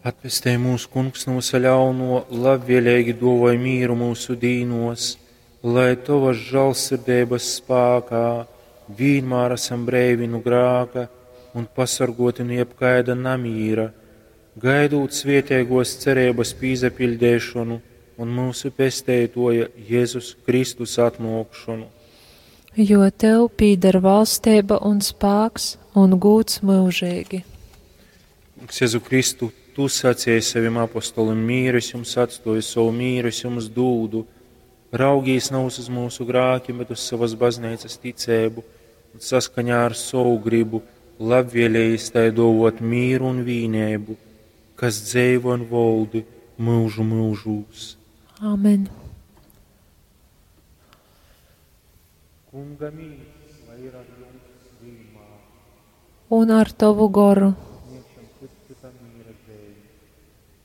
Atpestej mūs, Kungs, nu vysa ļaunuo, labvieleigi duovoj mīru myusu dīnuos, lai Tovas žālsirdeibas spākā vīnmār asam breivi nu grāka un pasorguoti nu jebkaida namīra, gaidūt svieteiguos cereibys pīsapiļdeišonu un myusu Pesteituoja Jezus Kristus atnuokšonu. Jo tev pīdar valsteiba un spāks un gūds myužeigi. Kungs Jezu Kristu, Tu sacēji savim apostolim, mīru es jums atstoju, sovu mīru es jums dūdu. Raugīs nevis uz mūsu grākiem, bet uz savas bazneicas ticēbu un saskaņā ar savu gribu labvēlējis tai dovot mīru un vīnēbu, kas dzeivo un voldi mūžu mūžūs. Āmen. Kunga mīrs, lai ir ar jums vienmēr. Un ar tavu goru. Sniegšam cits citam mīra zīmi.